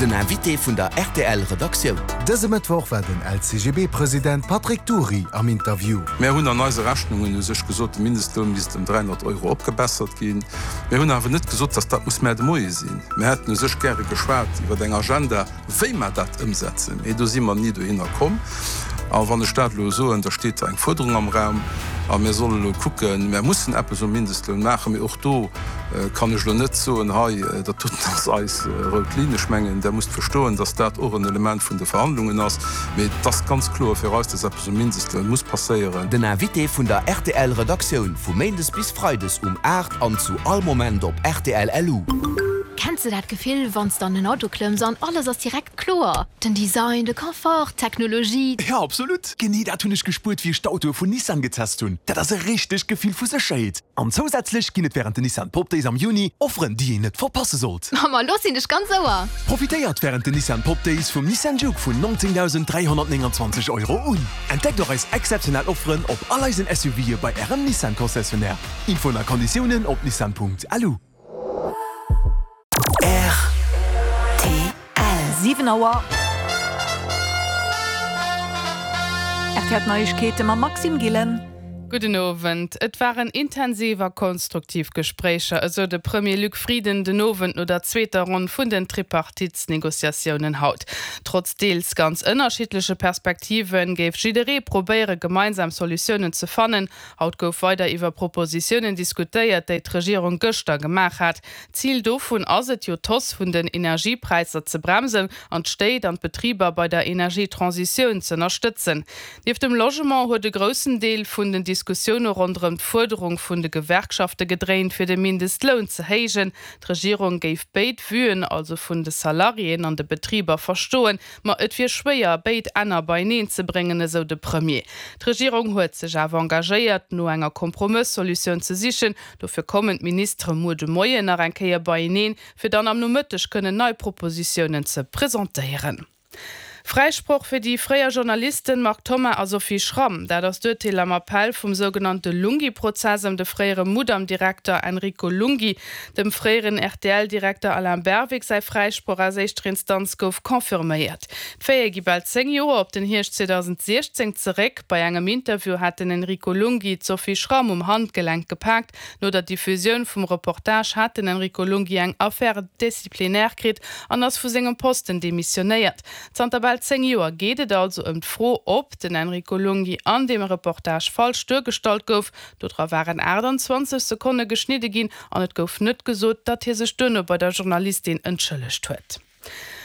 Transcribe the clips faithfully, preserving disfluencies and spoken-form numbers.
Den Invité vun der rtl Redaktioun. Dëse Mëttwoch war den LCGB-President Patrick Dury am Interview. Mär hunn an eise Rechnungen u sech gesot, de Mindestloun misst ëm dräihonnert Euro opgebessert ginn. Mär hunn awer net gesot, datt dat muss mar de Moie sinn. Mär hätten u sech gäre geschwat iwwer eng Agenda, wéi mer dat ëmsetzen, mee do si mer ni dohinner komm. A wann ech dat elo soen, da steet da eng Fuerderung am Raum a mir solle elo kucken, mär mussen eppes um Mindestloun maachen, mee och do kann ech elo net soen, hei dat doten ass eis rout Linn. Ech mengen, Der musst verstoen, datt dat och en Element vun de Verhandlungen ass, mee et ass ganz kloer fir eis, datt eppes um Mindestloun muss passéieren. Den Invité vun der rtl Redaktioun vu Méindes bis Freides um aacht an zu all Moment op rtl LU. Kenns de dat Gefill, wann s de an en Auto klëmms an alles ass direkt kloer? Den Design, de Confort, d'Technologie. Jo, absolut! Genee dat hunn ech gespuert, wéi ech d'Autoe vun Nissan getest hunn. Dat ass e richtegt Gefill vu Sécherheet. An zousätzlech ginn et wärend den Nissan Pop Days am Juni Offeren, déi een net verpasse sollt. Ma lo sinn ech ganz Ouer! Profitéiert wärend den Nissan Pop Days vum Nissan Juke vun neunzéngdausend dräihonnertnénganzwanzeg Euro un. Entdeckt och eis exzeptionell Offeren op all eisen SUVe bei Ärem Nissan Concessionnaire. Infoen a Konditiounen op nissan Punkt lu. R T L. Siwen Auer. R T L Neiegkeete mam Maxime Gillen. Gudden Owend. Et waren intensiv a konstruktiv Gespréicher, esou de Premier Luc Frieden den Owend no der zweeter Ronn vun den Tripartitsnegociatiounen haut. Trotz deels ganz ënnerschiddleche Perspektive géif jidderee probéiere gemeinsam Solutiounen ze fannen. Haut gouf weider iwwer Propositiounen diskutéiert, déi d'Regierung gëschter gemaach hat. Zil dovun ass et jo, d'Hausse vun den Energiepräisser ze bremsen an d'Stéit an d'Betriber bei der Energietransitioun ze ënnerstëtzen. Nieft dem Logement huet e groussen Deel vun den Diskussioune ronderëm d'Fuerderung vun de Gewerkschafte gedréint, fir de Mindestloun ze héijen. D'Regierung géif béid Vuen, also vun de Salariéen an de Betriber, verstoen, ma et wier schwéier, béid Enner beieneen ze bréngen, esou de Premier. D'Regierung huet sech awer engagéiert, no enger Kompromëssolutioun ze sichen. Dofir kommen d'Ministere muer de Moien nach eng Kéier beieneen, fir dann am Nomëtteg kënnen nei Propositiounen ze presentéieren. Fräisproch fir déi fréier Journalisten Marc Thoma a Sophie Schramm, dat ass d'Urteel am Appell vum sougenannte Lunghi-Prozess ëm de fréiere Mudam-Direkter Enrico Lunghi. Dem fréieren R T L-Direkter Alain Berwick säi Fräisproch aus éischter Instanz gouf confirméiert. D'Faite gi bal zéng Joer op den Hierscht zweedausendsiechzéng zeréck. Bei engem Interview hat den Enrico Lunghi d'Sophie Schramm um Handgelenk gepaakt. No der Diffusioun vum Reportage hat den Enrico Lunghi eng Affaire disciplinaire kritt an ass vu sengem Posten demissionéiert. Zanter bal zéng Joer geet et also ëm d'Fro, ob den Enrico Lunghi an deem Reportage falsch duergestallt gouf. Dodra waren aachtanzwanzeg Sekonne geschnidde ginn an et gouf net gesot, datt hie sech duerno bei der Journalistin entschëllegt huet.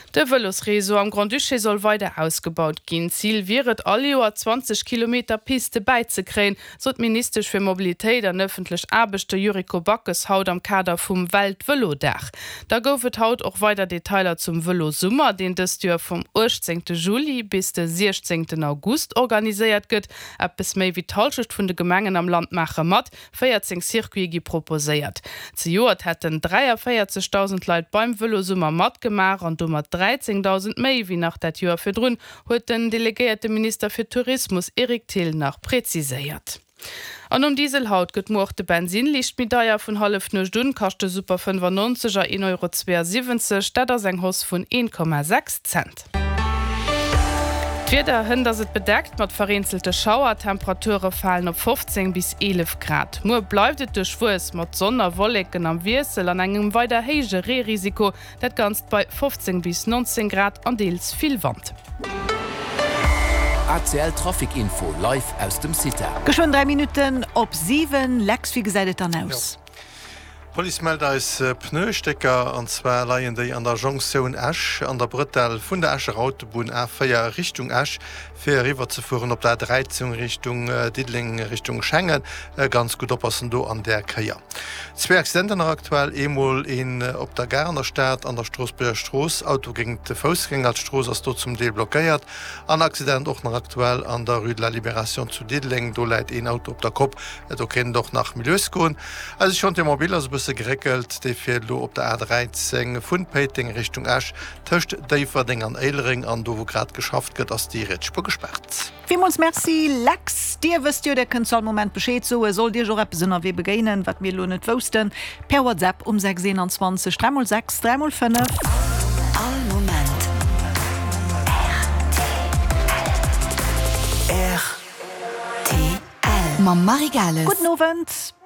De Vëlosreseau am Grand-Duché soll weider ausgebaut ginn. Zil wier et, all Joer zwanzeg Kilometer Piste bäizekréien, sot d'Ministesch fir Mobilitéit an ëffentlech Aarbechte Yuriko Backes haut am Kader vum Welt-Vëlo-Dag. Da gouf et haut och weider Detailer zum Vëlosummer, deen dëst Joer vum uechtzéngte Juli bis de siechzéngten August organiséiert gëtt. Eppes méi wéi d'Hallschecht vun de Gemengen am Land maache mat, véierzéng Circuite gi proposéiert. Zejoert hätten dräiavéierzegdausend Leit beim Vëlosummer matgemaach an domat dräizéngdausend méi wéi nach dat Joer virdrun, huet den delegéierte Minister fir Tourismus Eric Thill nach präziséiert. An nom Diesel haut gëtt muer och de Bensinn liicht méi deier. Vun Hallefnuecht un kascht de Super fënnefannonzeg er een Euro zweeasiwwenzeg, dat ass eng Hausse vun een Komma sechs Cent. D'Wieder, Hënt ass et bedeckt mat vereenzelte Schauer, d'Temperature falen op fofzéng bis eelef Grad. Muer bleift et duerchwuess mat Sonn a Wolleken am Wiessel an engem weider héije Reerisiko, dat Ganzt bei fofzéng bis nonzéng Grad an deels vill Wand. A C L Trafic Info live aus dem CITA. Geschwënn dräi Minutten op siwen. Lex, wéi gesäit et dann aus? D'Police mellt eis Pneustécker, an zwar leien déi an der Jonktioun Esch an der Brëtell vun der Escher Autobunn A véier Richtung Esch, fir eriwwer ze fueren op der A dräizéng Richtung Diddeleng, Richtung Schengen. Ganz gutt oppassen do an där Kéier. Zwee Accidenter nach aktuell, eemol een op der Gare an der Stad an der Stroossbuerger Strooss, Auto géint Foussgänger, d'Strooss ass do zum Deel blockéiert. An Accident och nach aktuell an der Rue de la Libération zu Diddeleng, do läit een Auto op der Kopp, do kéint et och nach méi lues goen. Eise Chantier mobile ass e bësse geréckelt, dee fiert elo op der A dräizéng vun Péiteng Richtung Esch tëscht Déifferdeng an Éilereng an do wou grad geschafft gëtt ass déi riets Spuer gespaart. Villmools Merci Lex. Dir wësst jo, der kënnt zu all Moment Bescheed soen, sollt Iech och eppes ënnerwee begéinen, wat mir elo net woussten, per WhatsApp um sechs eenanzwanzeg dräi mol sechs dräi mol fënnef. All Moment. Mam Marie Gales. Gudden Owend.